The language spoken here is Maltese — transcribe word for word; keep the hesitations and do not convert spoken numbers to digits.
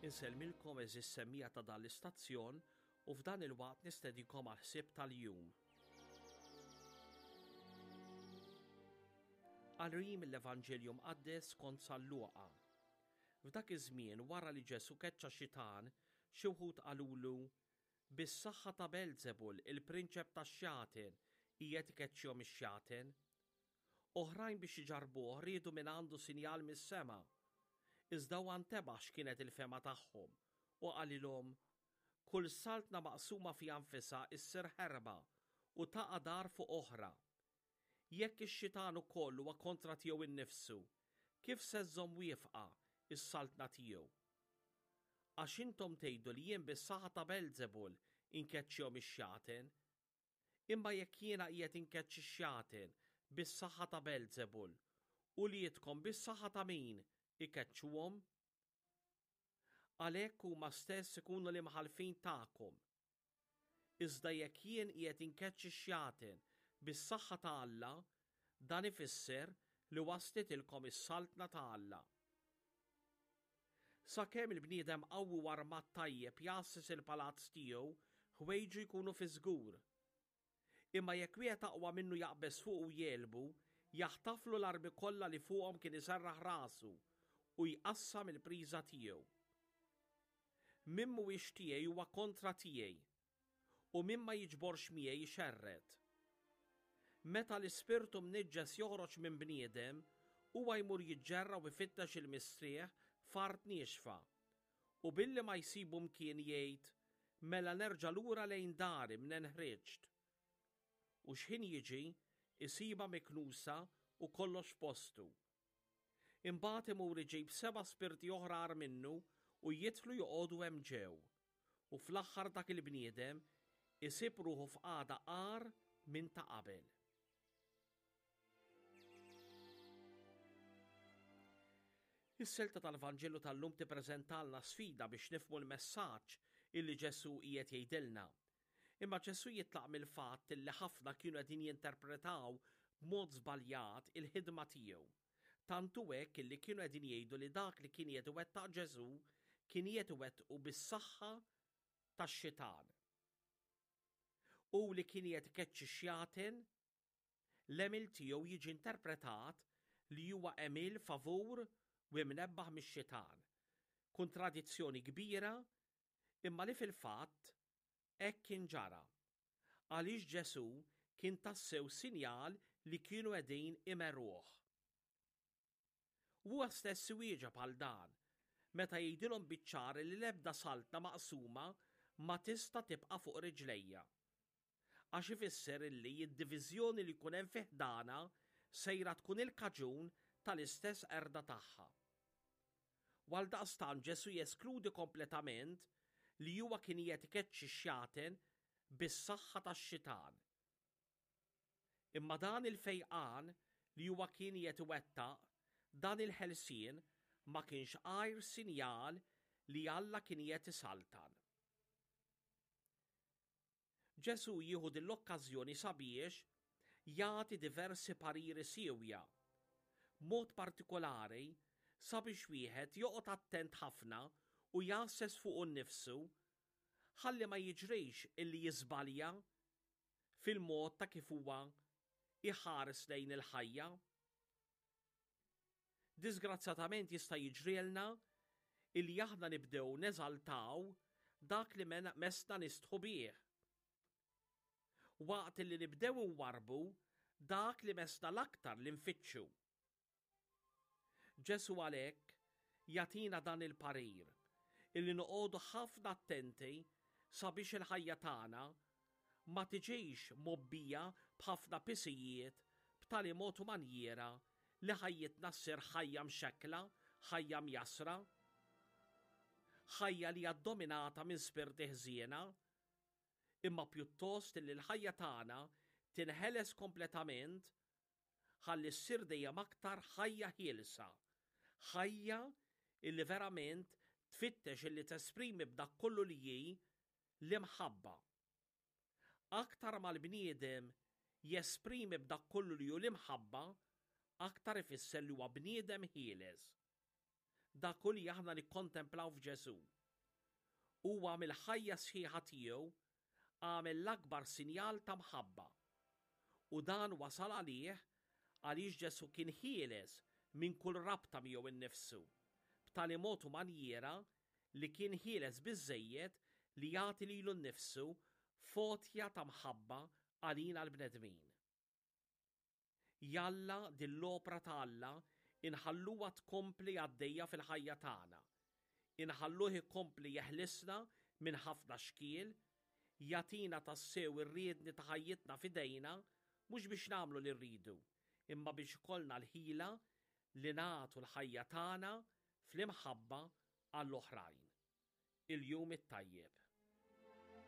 Insellmilkom għeżież semmiegħa ta' dan l-istazzjon u f'dan il-waqt nistedikom għal ħsieb tal-jum. Qari mill-Evanġelju Mqaddes skont San Luqa. F'dak iż-żmien wara li Ġesù keċċa xitan, xi wħud qalulu, Bis-saħħa ta' Belzebul, il-prinċep tax-xjaten, qiegħed ikeċċihom ix-xjaten. Oħrajn biex iġarrbuh riedu minn għandu sinjal mis-sema. Iżda huwa ntebaħ x'kienet il-fehma tagħhom u qalilhom, Kull saltna maqsuma fiha nfisha issir ħerba u taqa' dar fuq oħra. Jekk ix-xitan ukoll huwa kontra tiegħu innifsu, kif se żżomm wieqfa s-saltna tiegħu? Għax intom tgħidu li jien bis-saħħa ta' Belzebul inkeċċihom ix-xjaten. Imma jekk jiena qiegħed inkeċċi x-xjaten bis-saħħa ta' Belzebul, uliedkom bis-saħħa ta' min ikeċċuhom? Għalhekk huma stess ikunu l-imħallfin tagħkom. Iżda jekk jien qiegħed inkeċċi x-xjaten bis-saħħa ta' Alla, dan ifisser li waslitilkom is-saltna ta' Alla. Sakemm il-bniedem qawwi u armat tajjeb jgħasses il-palazz tiegħu, ħwejġu jkunu fi żgur. Imma jekk wieħed aqwa minnu jaqbeż fuqu u jegħlbu, jaħtaflu l-armi kollha li fuqhom kien iserraħ rasu u jqassam il-priża tiegħu. Min mhuwiex tiegħi huwa kontra tiegħi, u min ma jiġborx miegħi jxerred. Meta l-ispirtu mniġġes joħroġ minn bniedem, huwa jmur jiġġerra u jfittex il-mistrieħ f'art niexfa. U billi ma jsibu mkien jgħid, mela nerġa' lura lejn dari mnen ħriġt. U x'ħin jiġi, isibha miknusa u kollox f'postu. Imbagħad imur iġib seba' spirti oħra agħar minnu u jidħlu joqogħdu hemm ġew. U fl-aħħar dak il-bniedem isib ruħu f'qagħda agħar minn ta' qabel. Is-silta tal-Vanġelu tal-lum tippreżentalna sfida biex nifhmu l-messaġġ illi Ġesù qiegħed jgħidilna. Imma Ġesù jitlaq mill-fatt illi ħafna kienu qegħdin jinterpretaw b'mod żbaljat il-ħidma tiegħu. Tant hu hekk illi kienu qegħdin jgħidu li dak li kien qiegħed iwettaq Ġesù kien qiegħed iwettqu bis-saħħa tax-xitan. U li kien qiegħed ikeċċi xjaten, l-għemil tiegħu jiġi interpretat li huwa għemil favur u imnebbaħ mix-xitan. Kontradizzjoni kbira, imma li fil-fatt hekk kien ġara. Għaliex Ġesù kien tassew sinjal li kienu qegħdin imerruh. Huwa stess iwieġeb għal dan, meta jgħidilhom biċ-ċar li l-ebda saltna maqsuma ma tista' tibqa' fuq riġlejja. Għax ifisser illi d-diviżjoni li jkun hemm fi ħdana sejra tkun il-kaġun tal-istess qerda tagħha. Għaldaqstant Ġesù jeskludi kompletament li huwa kien qiegħed ikeċċi x-xjaten bis-saħħa tax-xitan. Imma dan il-fejqan li huwa kien qiegħed iwettaq, dan il-ħelsien ma kienx għajr sinjal li Alla kien qiegħed isaltan. Ġesù jieħu din l-okkażjoni sabiex jagħti diversi pariri siewja, b'mod partikolari sabiex wieħed joqgħod attent ħafna u jgħasses fuqu nnifsu ħalli ma jiġrix illi jiżbalja fil-mod ta' kif huwa iħares lejn il-ħajja. Disgrazzjatament jista' jiġrilna illi aħna nibdew neżaltaw dak li messna nistħu bih. Waqt li nibdew nwarrbu dak li messna l-aktar li nfittxu. Ġesù għalhekk jagħtina dan il-parir illi noqogħdu ħafna attenti sabiex il-ħajja tagħna ma tiġix mobbija b'ħafna pisijiet b'tali mod u manjiera li ħajjitna ssir ħajja mxekkla, ħajja mjassra, ħajja li hija ddominata minn spirti ħżiena, imma pjuttost li l-ħajja tagħna tinħeles kompletament ħalli ssir dejjem aktar ħajja ħielsa, ħajja illi verament tfittex illi tesprimi b'dak kollu li hi l-imħabba. Aktar ma l-bniedem jesprimi b'dak kollu li hu l-imħabba, aktar ifisser li huwa bniedem ħieles. Dak hu li aħna nikkontemplaw f'Ġesù. Huwa mill-ħajja sħiħa tiegħu għamel l-akbar sinjal ta' mħabba. U dan wasal għalih għaliex Ġesù kien ħieles minn kull rabta miegħu innifsu, b'tali mod u manjiera li kien ħieles biżżejjed li jagħti lilu nnifsu f'għotja ta' mħabba għalina l-bnedmin. Jalla din l-opra ta' Alla inħalluha tkompli għaddejja fil-ħajja tagħna. Inħalluh ikompli jeħlisna minn ħafna xkiel, jagħtina tassew ir-riedni ta' ħajjitna f'idejna mhux biex nagħmlu li rridu, imma biex ikollna l-ħila li nagħtu l-ħajja tagħna fl-imħabba għall-oħrajn. Il-jum it-tajjeb.